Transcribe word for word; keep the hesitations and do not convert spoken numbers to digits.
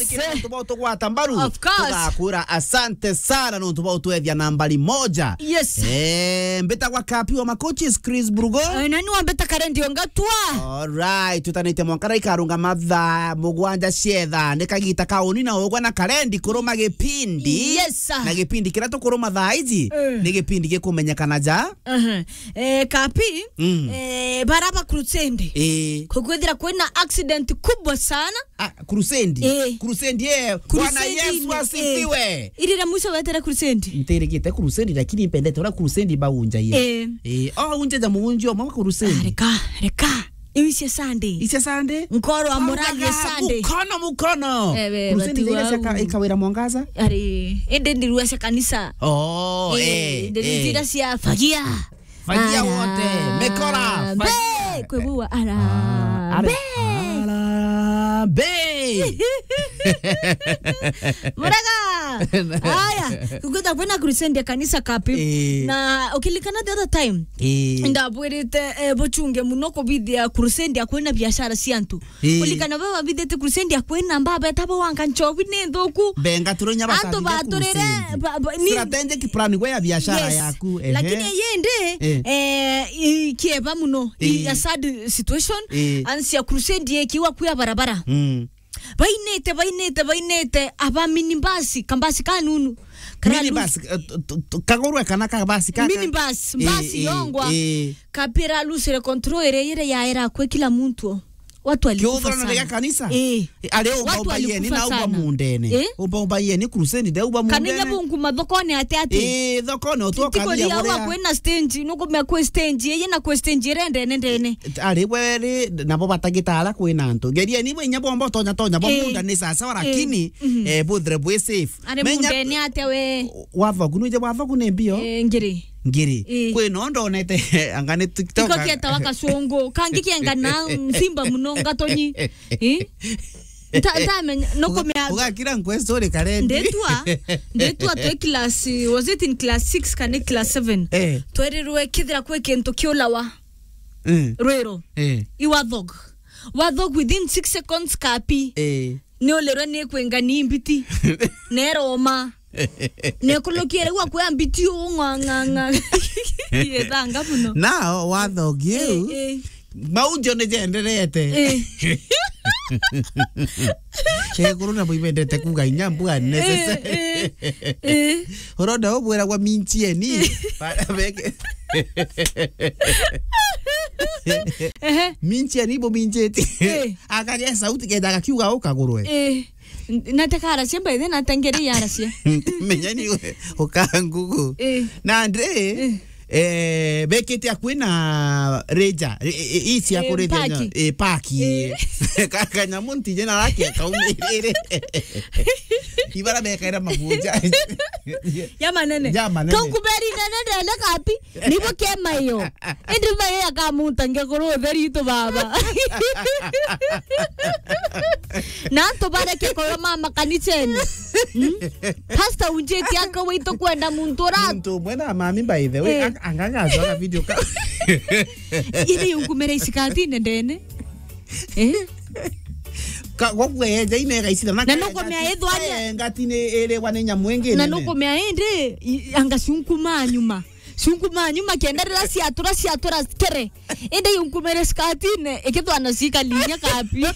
Nontu bwa utugwata mbaru. Of course. Tugakwira asante sana nontu bwa utwethia nambari moja. Yes. Eh, mbitagwa Kapi wa Makochis, Chris Brugo. Eh, nani wambita Karendi Ongatua? Alright, tutanite mwanka ikarunga mathaa mugwanja cietha. Ni kagita kauni na ugwa na Karendi kuruma gipindi. Yes, sir. Na gipindi kiria tukuruma thaa iji, eh, ni gipindi gikumenyekana ja. Aha. Eh, Kapi, mm, eh, bara ba crusade. Eh. Kukwithira kwina accident kubwa sana. Ah, crusade. Eh. Crusade, eh. Bwana Yesu asifiwe. Irira mwisho wetere crusade. Ntirigite crusade, lakini mpendete ura crusade baunja ye. Eh. Eh, oh, unje ja muunjio mwa crusade. Ah, reka, reka. Iu cia Sunday. Icia Sunday? Nkoro amuragie Sunday. Mukono, mukono. Eh, we, crusade bati iria wau. Ikawira mwangaza? Ari, ende ndirua cia kanisa. Oh, eh, eh, ndirua cia fagia. Fagia wote, mekora, fagia. Be, kwe bua, ara, ah, ara, be. Ara, be. Muraga. Aya, kukwita kwina crusade ya kanisa Kapi. Eh. Na ukilikana the other time, eh, ndabwirite, eh, buchunge muno kubithia crusade ya kwina biashara cia antu. Ii. Kulikana baba bithite crusade ya kwina mbaba etabo wanka nchobi ni nthuku. Benga turo nya bakathithia crusade. Antu baturire, ba, ba, ni strategic plan gwe ya biashara yaku, ehe. Lakini yindi, eh, ikieba muno, i, a sad situation, eh, ansi ya crusade ikiwa kuya barabara. Mm. Bainite, bainite, bainite, aba minibus, kambasi kanunu. Minibus, eh, t-, t-, t-, kagurwe kana kabasi kaka? Minibus, eh, basi yongwa. Eh. Kapira lusire control ire, ire yaera kwe kila muntu. Watu walikufa sana. Kiuthurano gia kanisa? Eh. Eh, ari umba umba yeni na umba mundene. Eh? Umba umba yeni crusade de umba mundene. Kanenya bungu mathokone ate ate. Eh, thokone utwo. Tikoria kanisa wa kwena stage, nukumea kwe stage, eye na kwe stage ire ndene ndene. Ari bweri, nabo batagitara kwina antu. Geria ni bwe inya bomba tonya tonya, bo, eh, munda ni sawa sawa, eh, lakini, mhm, eh, buthire bwi safe. Ari mundene ate we. Wathogu, nuje wathogu ni mbio? Eh, ngiri. Ngiri. Ii. Kwi no ndonete, anga ni TikTok. Iko kieta wa kacungu. Kangi kienga na nsimba muno ngatonyi. Ii? Nta-, ntamenya, no kumea. Ugakira nkwe story Karendi. Ndetwa, ndetwa twe class, was it in class six kana class seven? Eh. Twerirwe kithira kwi kintu kiulawa. Mm. Rwiro. Eh. I wathog. Wathog within six seconds Kapi. Eh. Ni ulirwe ni kwenga ni mbiti. Neroma. Nekulukire gwa kwa mbiti ung'ang'ang'a. Yethanga muno. Now, wathogi u, eh, eh, maujo ni jenderete. Eh. Keguru na buibendete kuga inya mbua necessary. Eh, eh, eh. Uronda ubwiragwa minchieni. Bara beke. Ehe. Minchieni bu mincheti. Eh. Akaria sauti kenda gakiuga ukagurwe. Eh. N-, nate karacia mbaithe, nate ngeri yaracia. Menya ni we, ukangugu. Eh. Na andre, eh, eh, bekete akwi na Ranger, eh, eh, isi ya, eh, kureja paki. Nya-, eh, paki. Eh. Ka-, kanyamu ntije na raki akaumirire. Ibara bekaira mabuja. Ya manene. Ya manene. Kaukuberi nene ndene Kapi. Nibo kema iyo. Indi mayo yakamunta ngekuru utheri itu baba. Na antu bareke kurwa mama kanicheni. Hmm? Pastor unjeti aka witu kwenda muntu ura. Muntu umwe na mami by the way, eh, ang-, anga gacoka video ka. Ile yungumera isikatine ndene. Eh? Ka, gokwe eja ine gaicira na. Na nukumea ithwanya. Ngati ni iri wa ni nyamu ingi. Na nukumea indi, i-, anga cunkuma nyuma. Cunkuma nyuma kenda rira ciatura, ciatura kere. Indi yunkumire skatine, ikithwana cikalinya Kapi.